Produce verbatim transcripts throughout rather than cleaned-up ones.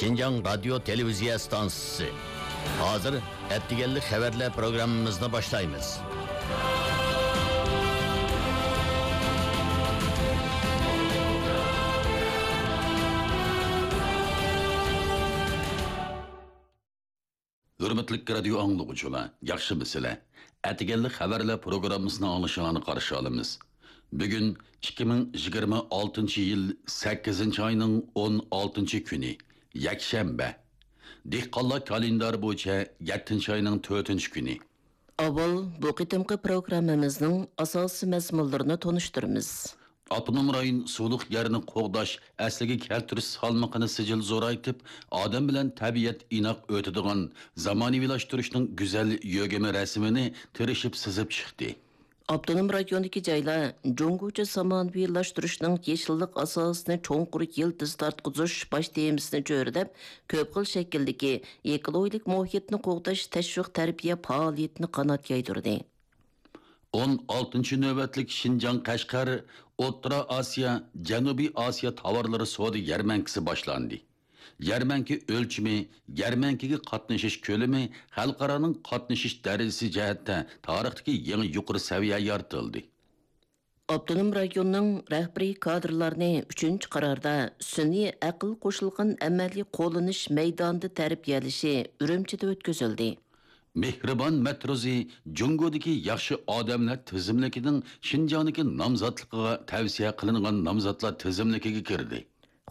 شىنجاڭ رادىيو تېلېۋىزىيە ئىستانسىسى. ھازىر ئەتىگەنلىك خەۋەرلەر پروگراممىمىزنى باشلايمىز. ھۆرمەتلىك رادىيو ئاڭلىغۇچىلار، ياخشىمۇسىلەر؟ ئەتىگەنلىك خەۋەرلەر پروگراممىسىنى ئاڭلىشىڭلارنى قارشى ئالىمىز. بۈگۈن ئىككى مىڭ يىگىرمە ئالتىنچى يىل سەككىزىنچى ئاينىڭ ئون ئالتىنچى كۈنى، يەكشەنبە. دېھقانلار كالېندارى بويىچە يەتتىنچى ئاينىڭ تۆتىنچى كۈنى. ئاۋۋال بۇ قېتىمقى پروگراممىمىزنىڭ ئاساسىي مەزمۇنلىرىنى تونۇشتۇرىمىز. ئاپتونوم رايون سۇلۇق يەرنى قوغداش، ئەسلىگە كەلتۈرۈش سالمىقىنى سىجىل زورايتىپ، ئادەم بىلەن تەبىئەت ئىناق ئۆتىدىغان زامانىۋىلاشتۇرۇشنىڭ گۈزەل يۆگىمە رەسىمىنى تىرىشىپ سىزىپ چىقتى. ئاپتونوم رايوندىكى جايلار جۇڭگوچە زامانىۋىلاشتۇرۇشنىڭ يېشىللىق ئاساسىنى چوڭقۇر يىلتىز تارتقۇزۇش باش تېمىسىنى چۆرىدەپ، كۆپ خىل شەكىلدىكى ئېكولوگىيەلىك مۇھىتنى قوغداش تەشۋىق تەربىيە پائالىيىتىنى قانات يايدۇردى. ئون ئالتىنچى نۆۋەتلىك شىنجاڭ قەشقەر ئوتتۇرا ئاسىيا، جەنۇبىي ئاسىيا تاۋارلىرى سودا يەرمەنكىسى باشلاندى. يەرمەنكە ئۆلچىمى، يەرمەنكىگە قاتنىشىش كۆلىمى، خەلقئارانىڭ قاتنىشىش دەرىجىسى جەھەتتە تارىختىكى يېڭى يۇقىرى سەۋىيە يارىتىلدى. ئاپتونوم رايوننىڭ رەھبىرىي كادىرلارنى ئۈچىنچى قاراردا سۈنئىي ئەقىل قوشۇلغان ئەمەلىي قوللىنىش مەيدانىدا تەربىيەلىشى ئۈرۈمچىدە ئۆتكۈزۈلدى. مېھرىبان مەترۇزى جۇڭگودىكى ياخشى ئادەملەر تىزىملىكىنىڭ شىنجاڭدىكى نامزاتلىقىغا تەۋسىيە قىلىنغان نامزاتلار تىزىملىكىگە كىردى.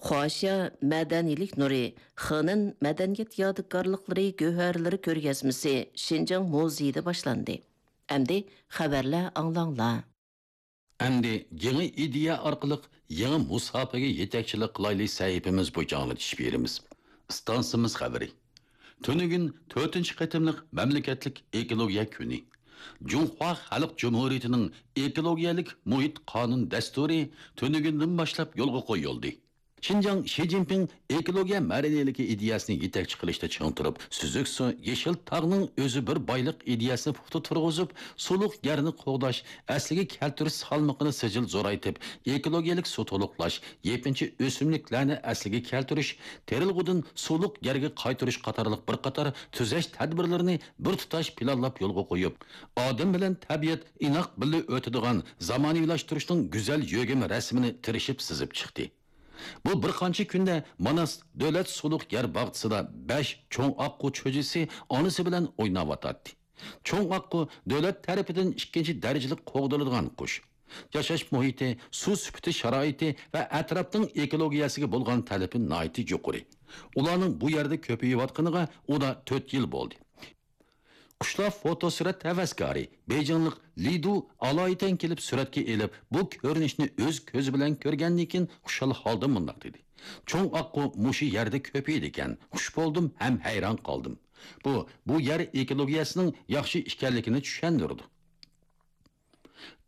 خۇاشيا مەدەنىيلىك نۇرى، خېنەن مەدەنىيەت يادىكارلىقلىرى گۆھەرلىرى كۆرگەزمىسى شىنجاڭ مۇزېيىدا باشلاندى. ئەمدى خەۋەرلەر ئاڭلاڭلار. ئەمدى يېڭى ئىدىيە ئارقىلىق يېڭى مۇساپىگە يېتەكچىلىك قىلايلى سەھىپىمىز بويىچە ئاڭلىتىش بېرىمىز. ئىستانسىمىز خەۋىرى. تۈنۈگۈن تۆتىنچى قېتىملىق مەملىكەتلىك ئېكولوگىيە كۈنى. جۇڭخۇا خەلق جۇمھۇرىيىتىنىڭ ئېكولوگىيەلىك مۇھىت قانۇن دەستۇرى تۈنۈگۈندىن باشلاپ يولغا قويۇلدى. شىنجاڭ شى جىنپىڭ ئېكولوگىيە مەدەنىيلىكى ئىدىيەسىنى يېتەكچى قىلىشتا چىڭ تۇرۇپ، سۈزۈك سۇ، يېشىل تاغنىڭ ئۆزى بىر بايلىق ئىدىيەسىنى پۇختا تۇرغۇزۇپ، سۇلۇق يەرنى قوغداش، ئەسلىگە كەلتۈرۈش سالمىقىنى سىجىل زورايتىپ، ئېكولوگىيەلىك سۇ تولۇقلاش، يېپىنچا ئۆسۈملۈكلەرنى ئەسلىگە كەلتۈرۈش، تېرىلغۇدىن سۇلۇق يەرگە قايتۇرۇش قاتارلىق بىر قاتار تۈزەش تەدبىرلىرىنى بىر تۇتاش پىلانلاپ يولغا قويۇپ، ئادەم بىلەن تەبىئەت ئىناق بىللە ئۆتىدىغان زامانىۋىلاشتۇرۇشنىڭ گۈزەل يۆگىمە رەسىمىنى تىرىشىپ سىزىپ چىقتى. بۇ بىر قانچە كۈندە ماناس دۆلەت سۇلۇق يەر باغچىسىدا بەش چوڭ ئاققۇ چۈجىسى ئانىسى بىلەن ئويناۋاتاتتى. چوڭ ئاققۇ دۆلەت تەرىپىدىن ئىككىنچى دەرىجىلىك قوغدىلىدىغان قۇش. ياشاش مۇھىتى، سۇ سۈپىتى شارائىتى ۋە ئەتراپنىڭ ئېكولوگىيەسىگە بولغان تەلىپى ناھايىتى يۇقىرى. ئۇلارنىڭ بۇ يەردە كۆپىيىۋاتقىنىغا ئۇدا تۆت يىل بولدى. قۇشلار فوتوسۈرەت ھەۋەسكارى، بېيجىڭلىق لى دۇ ئالايىتەن كېلىپ سۈرەتكە ئېلىپ، بۇ كۆرۈنۈشنى ئۆز كۆزى بىلەن كۆرگەندىن كېيىن خۇشال ھالدا مۇنداق دېدى: «چوڭ ئاققۇ مۇشۇ يەردە كۆپىيىدىكەن، خۇش بولدۇم ھەم ھەيران قالدىم. بۇ، بۇ يەر ئېكولوگىيەسىنىڭ ياخشى ئىكەنلىكىنى چۈشەندۈرىدۇ.»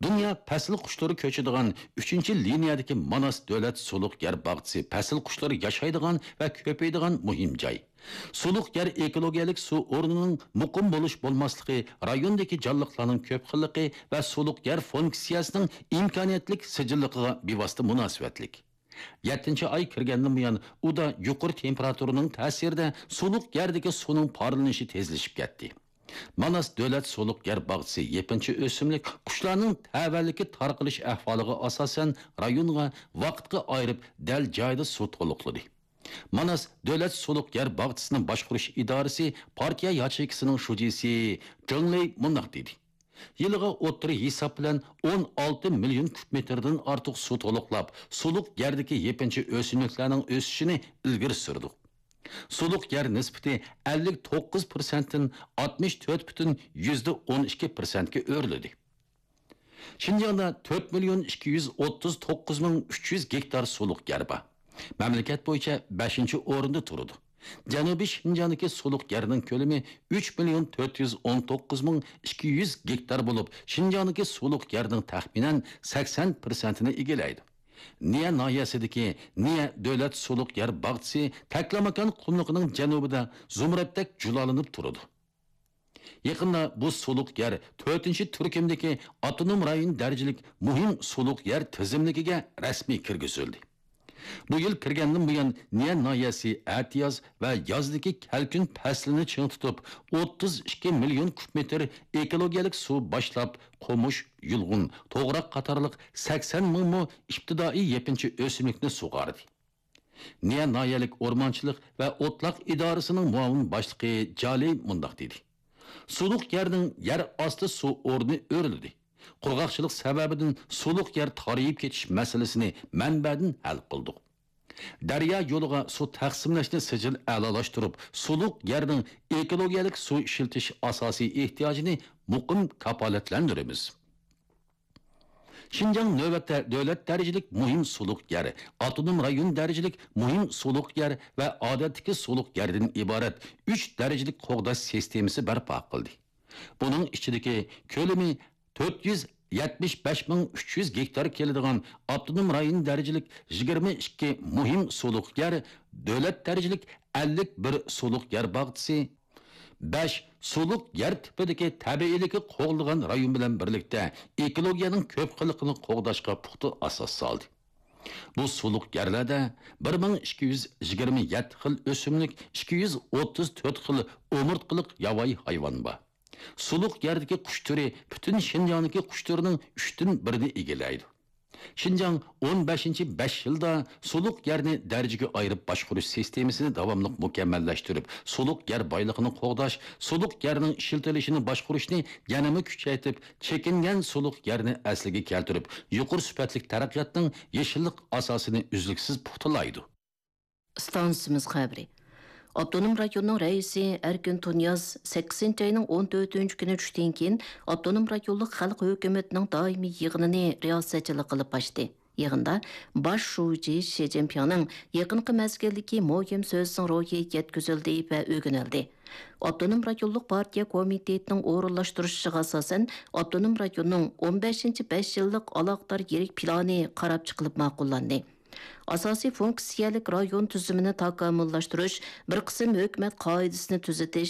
دۇنيا پەسىل قۇشلىرى كۆچىدىغان ئۈچىنچى لىنىيەدىكى ماناس دۆلەت سۇلۇق يەر باغچىسى پەسىل قۇشلىرى ياشايدىغان ۋە كۆپىيىدىغان مۇھىم جاي. سۇلۇق يەر ئېكولوگىيەلىك سۇ ئورنىنىڭ مۇقىم بولۇش بولماسلىقى رايوندىكى جانلىقلارنىڭ كۆپ خىللىقى ۋە سۇلۇق يەر فۇنكسىيەسىنىڭ ئىمكانىيەتلىك سىجىللىقىغا بىۋاسىتە مۇناسىۋەتلىك. يەتتىنچى ئاي كىرگەندىن بۇيان ئۇدا يۇقىرى تېمپېراتۇرىنىڭ تەسىرىدە سۇلۇق يەردىكى سۇنىڭ پارلىنىشى تېزلىشىپ كەتتى. ماناس دۆلەت سۇلۇق يەر باغچىسى يېپىنچا ئۆسۈملۈك قۇشلارنىڭ تەۋەلىكى تارقىلىش ئەھۋالىغا ئاساسەن رايونغا ۋاقىتقا ئايرىپ دەل جايىدا سۇ تولۇقلىدى. ماناس دۆلەت سۇلۇق يەر باغچىسىنى باشقۇرۇش ئىدارىسى پارتىيە ياچېيكىسىنىڭ شۇجىسى جېڭ لېي مۇنداق دېدى: «يىلىغا ئوتتۇرا ھېساب بىلەن ئون ئالتە مىليون كۇب مېتىردىن ئارتۇق سۇ تولۇقلاپ، سۇلۇق يەردىكى يېپىنچا ئۆسۈملۈكلەرنىڭ ئۆسۈشىنى ئىلگىرى سۈردۇق. سۇلۇق يەر نىسبىتى ئەللىك توققۇز پىرسەنتتىن ئاتمىش تۆت پۈتۈن يۈزدە ئون ئىككى پىرسەنتكە ئۆرلىدى.» شىنجاڭدا تۆت مىليون ئىككى يۈز ئوتتۇز توققۇز مىڭ ئۈچ يۈز گېكتار سۇلۇق يەر بار. مەملىكەت بويىچە بەشىنچى ئورۇندا تۇرىدۇ. جەنۇبىي شىنجاڭدىكى سۇلۇق يەرنىڭ كۆلىمى ئۈچ مىليون تۆت يۈز ئون توققۇز مىڭ ئىككى يۈز گېكتار بولۇپ، شىنجاڭدىكى سۇلۇق يەرنىڭ تەخمىنەن سەكسەن پىرسەنتىنى ئىگىلەيدۇ. نىيە ناھىيەسىدىكى نىيە دۆلەت سۇلۇق يەر باغچىسى تەكلىماكان قۇملۇقىنىڭ جەنۇبىدا زۇمرەتتەك جۇلالىنىپ تۇرىدۇ. يېقىندا بۇ سۇلۇق يەر تۆتىنچى تۈركۈمدىكى ئاپتونوم رايون دەرىجىلىك مۇھىم سۇلۇق يەر تىزىملىكىگە رەسمىي كىرگۈزۈلدى. بۇ يىل كىرگەندىن بۇيان، نىيە ناھىيەسى ئەتىياز ۋە يازدىكى كەلكۈن پەسلىنى چىڭ تۇتۇپ، ئوتتۇز ئىككى مىليون كۇب مېتىر ئېكولوگىيەلىك سۇ باشلاپ، قومۇش، يۇلغۇن، توغراق قاتارلىق سەكسەن مىڭ مو ئىپتىدائىي يېپىنچا ئۆسۈملۈكنى سۇغاردى. نىيە ناھىيەلىك ئورمانچىلىق ۋە ئوتلاق ئىدارىسىنىڭ مۇئاۋىن باشلىقى جالى مۇنداق دېدى: سۇلۇق يەرنىڭ يەر ئاستى سۇ ئورنى ئۆرلىدى. قۇرغاقچىلىق سەۋەبىدىن سۇلۇق يەر تارىيىپ كېتىش مەسىلىسىنى مەنبەدىن ھەل قىلدۇق. دەريا يولىغا سۇ تەقسىملەشنى سىجىل ئەلالاشتۇرۇپ، سۇلۇق يەرنىڭ ئېكولوگىيەلىك سۇ ئىشلىتىش ئاساسىي ئېھتىياجىنى مۇقىم كاپالەتلەندۈرىمىز. شىنجاڭ نۆۋەتتە دۆلەت دەرىجىلىك مۇھىم سۇلۇق يەر، ئاپتونوم رايون دەرىجىلىك مۇھىم سۇلۇق يەر ۋە ئادەتتىكى سۇلۇق يەردىن ئىبارەت ئۈچ دەرىجىلىك قوغداش سىستېمىسى بەرپا قىلدى. بۇنىڭ ئىچىدىكى كۆلىمى تۆت يۈز يەتمىش بەش مىڭ ئۈچ يۈز گېكتار كېلىدىغان ئاپتونوم رايون دەرىجىلىك يىگىرمە ئىككى مۇھىم سۇلۇق يەر، دۆلەت دەرىجىلىك ئەللىك بىر سۇلۇق يەر باغچىسى، بەش سۇلۇق يەر تىپىدىكى تەبىئىيلىكى قوغدىلغان رايون بىلەن بىرلىكتە ئېكولوگىيەنىڭ كۆپ خىللىقىنى قوغداشقا پۇختا ئاساس سالدى. بۇ سۇلۇق يەرلەردە بىر مىڭ ئىككى يۈز يىگىرمە يەتتە خىل ئۆسۈملۈك، ئىككى يۈز ئوتتۇز تۆت خىل ئومۇرتقىلىق ياۋايى ھايۋان بار. سۇلۇق يەردىكى قۇش تۈرى پۈتۈن شىنجاڭدىكى قۇش تۈرىنىڭ ئۈچتىن بىرىنى ئىگىلەيدۇ. شىنجاڭ ئون بەشىنچى بەش يىلدا سۇلۇق يەرنى دەرىجىگە ئايرىپ باشقۇرۇش سىستېمىسىنى داۋاملىق مۇكەممەللەشتۈرۈپ، سۇلۇق يەر بايلىقىنى قوغداش، سۇلۇق يەرنىڭ ئىشلىتىلىشىنى باشقۇرۇشنى يەنىمۇ كۈچەيتىپ، چېكىنگەن سۇلۇق يەرنى ئەسلىگە كەلتۈرۈپ، يۇقىرى سۈپەتلىك تەرەققىياتنىڭ يېشىللىق ئاساسىنى ئۈزلۈكسىز پۇختىلايدۇ. ئىستانسىمىز خەۋىرى. ئاپتونوم رايوننىڭ رەئىسى ئەركىن تۇنىياز سەككىزىنچى ئاينىڭ ئون تۆتىنچى كۈنى چۈشتىن كېيىن ئاپتونوم رايونلۇق خەلق ھۆكۈمىتىنىڭ دائىمىي يىغىنىنى رىياسەتچىلىك قىلىپ ئاچتى. يىغىندا باش شۇجى شى جىنپىڭنىڭ يېقىنقى مەزگىلدىكى مۇھىم سۆزىنىڭ روھى يەتكۈزۈلدى ۋە ئۆگىنىلدى. ئاپتونوم رايونلۇق پارتىيە كومىتېتىنىڭ ئورۇنلاشتۇرۇشىغا ئاساسەن، ئاپتونوم رايوننىڭ ئون بەشىنچى بەش يىللىق ئالاقىدار يىرىك پىلانى قاراپ چىقىلىپ ماقۇللاندى. ئاساسىي فۇنكسىيەلىك رايون تۈزۈمىنى تاكامۇللاشتۇرۇش، بىر قىسىم ھۆكۈمەت قائىدىسىنى تۈزىتىش،